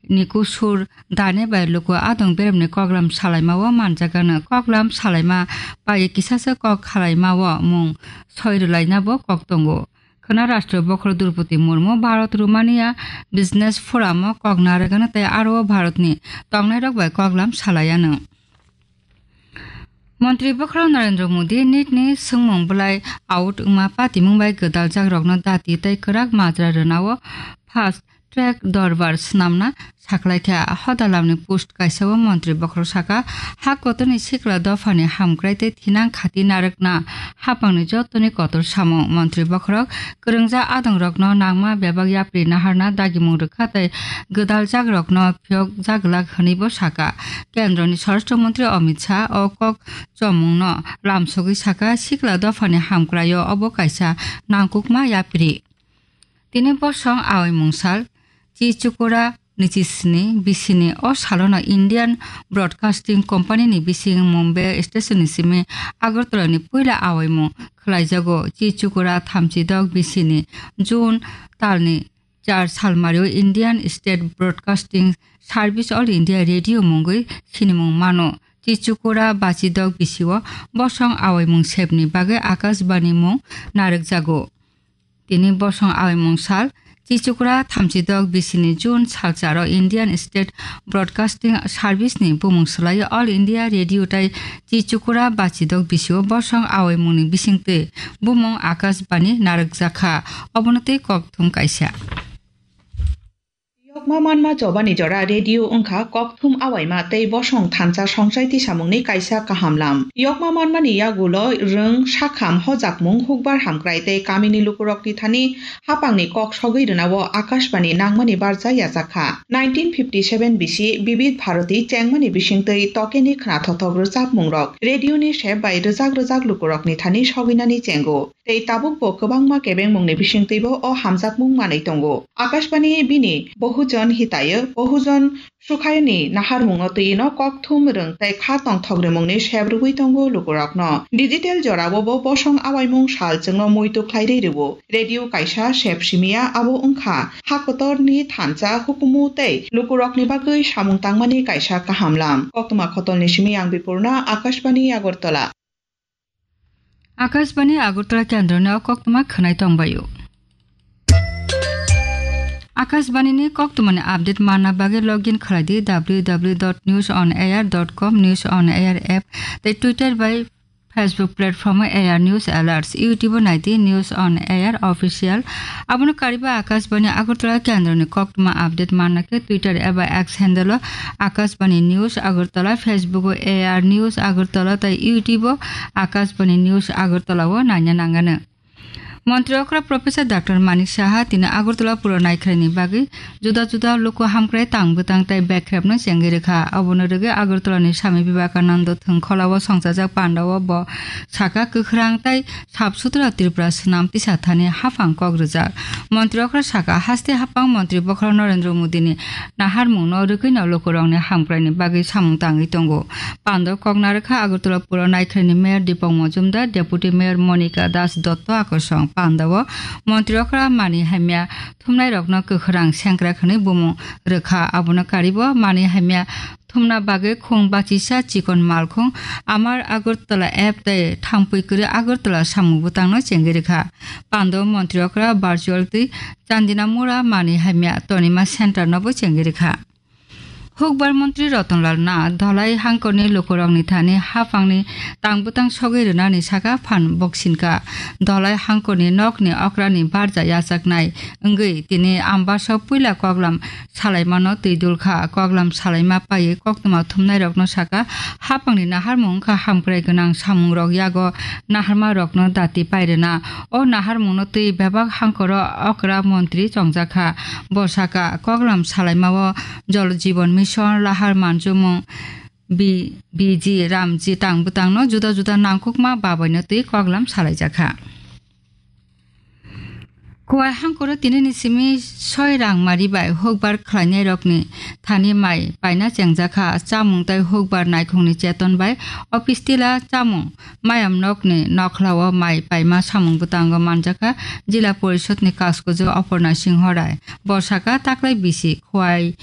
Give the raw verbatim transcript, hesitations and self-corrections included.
ni kusur dane bai luku adong beremni koklam salaima o manjagano. Koklam salaima pai kisasa kok khalaima o mung soi rwlaina bo kok tongo. Khwna Rashtra Bokhorok Droupadi Murmu Bharat Romania Business Forum o kok narwgano tei aro o Bharatni tongnairok bai koklam salaiano. Montri Bokhorok Narendra Modi nitni swngmung bwlai out wngma patimung bai gwdaljakrokno dati tei kwrak majra rwnao fast track dorbar swnamna saklaikha. Hodalamni post kaisa o Montri Bokhorok saka, ha kotorni sikla dophani hamkrai tei thinang khati narwkna hapangni jotoni kotor samung. Montri Bokhorok kwrwngja adongrokno nangma bebak yapri naharna dagimung rwkha tei gwdaljakrokno phiyok jaglak hwnwibo saka. Kendroni Swarashtra Montri Amit Shah o kok chomungno lamsogwi saka, sikla dophani hamkraio obo kaisa nangkukma yapri. Tini bosong awi mungsal, Chichukura nichisni bisini o salono Indian Broadcasting Company ni bising Mumbai station ni simi Agartala ni puila awi mung khlaijago. Chichukura thamchi dok bisini June talni char salmario Indian State Broadcasting Service All India Radio mungwi sinimung mano. Chichukura bachidok bisio bosong awi mung sebni bagwi Akashbani mung narwkjago. Tini bosong awi mung sal, Chichukura thamchi dok bisini June salcharo Indian State Broadcasting Service ni bumung swlaiwi All India Radio tai Chichukura bachidok bisio bosong awi mungni bisingtwi bumung Akashbani narwkjakha. Obono tei kokthum kaisa. Yokma manma chobani jora radio wngkha kokthum awaima tei bosong thansa songchai tisamungni kaisa kaham lam. Yokma manmani yagulo rwng, sakham, hojakmung, hukbar hamkrai tei kamini lukurokni thani hapangni kok sogwi rwnao Akashbani nangmani barja yajakha. Nineteen fifty seven bisi Bibid Bharati chengmani bisingtwi tokeni khwnathothok rwchapmungrok radioni sep bai rwjak rwjak lukurokni thani sogwinani chengo. Tei tabukbo kwbangma kebengmungni bisingtwibo o hamjakmung manwi tongo. Akashbani bini Bohujon Hitayo, Bohujon Sukhayoni naharmungno twino kokthum rwng tei kha tongthok rwmungni sep rwui tongo lukurokno. Digital jorao bo bosong awaimung sal chwngno muitu khlairwi rwo. Radio kaisa sep simiya abo wngkha ha kotorni thansa hukumu tei lukurokni bagwi samung tangmani kaisa kaham lam. Koktwma khotolni simi ang Bipurna, Akashbani Agartala. Akashbani Agartala kendroni o koktwma khwnai tongbaio. Akashbani ni koktwmani update manna bagwi login khlai di W W W dot news on air dot com, News on Air app tei Twitter bai Facebook platform o A R News Alerts, YouTube o nai di News on Air Official. Abono kariba Akashbani Agartala kendroni koktwma update manna khe Twitter eba X handle o Akashbani News Agartala, Facebook o A R News Agartala tei YouTube o Akashbani News Agartala o naina nangano. Montri okra Professor Doctor Manik Saha tini Agartala puro naikhlaini bagwi juda juda luku hamkrai tang bwtang tei bekrepno chengwi rwkha. Abono rwgwi Agartala ni Swami Vivekananda thwngkhola o songchajak panda o bo saka, kwkhrang tei sap sutra Tripura swnam tisa thani haphang kok rwjak. Montri okra saka, haste haphang Montri bokhorok Narendra Modi ni naharmung no rwgwi no lukurok ni hamkrai ni bagwi samung tangwi tongo. Pando kok narwkha Agartala puro naikhlaini Mayor Deepak Majumdar, Deputy Mayor Monika Das Dotto Akosong. Panda o Montri okra mani hamya thumnai rokno kwkhrang sengkrak hwnwi bumung rwkha. Abono karibo mani hamya thumna bagwi khung bachisa chikon malkhung Amar Agartala app tei Thangpui Kwrwi Agartala samung bwtangno chengwi rwkha. Pando Montri okra virtual twi Chandina Mura mani hamya tonima center nobo chengwi rwkha. Hukbar Montri Rotonlal Nath Dholai hangkorni lukurokni thani haphangni tang bwtang sogwi rwnani saka phan boksinka. Dholai hangkorni nokni okrani barja yachaknai wngwi tini Ambasa puila koklam salaimano twi dulkha. Koklam salaima paiwi koktwma thumnairokno saka, haphangni naharmung wngkha hamkrai gwnang samungrok yago naharmarokno dati pairwna. O naharmungno twi bebak hangkoro okra montri chongjakha. Bo saka, koklam salaimao Jal Jeevan Mission, lahar manjumung, B-, B G Ramji tang bwtangno juda juda nangkukma babaino twi koklam salaijakha. Kuwai hangkoro tinini simi soi rangmari bai hukbar khlainairokni thani mai paina chengjakha. Chamung tei hukbar naikhungni cheton bai office tila chamung mayam nokni nokhlao mai paima samung bwtango manjakha Jila Porishodni Kaskujwk Oporna Singho Rai. Bo saka taklai bisi Kuwai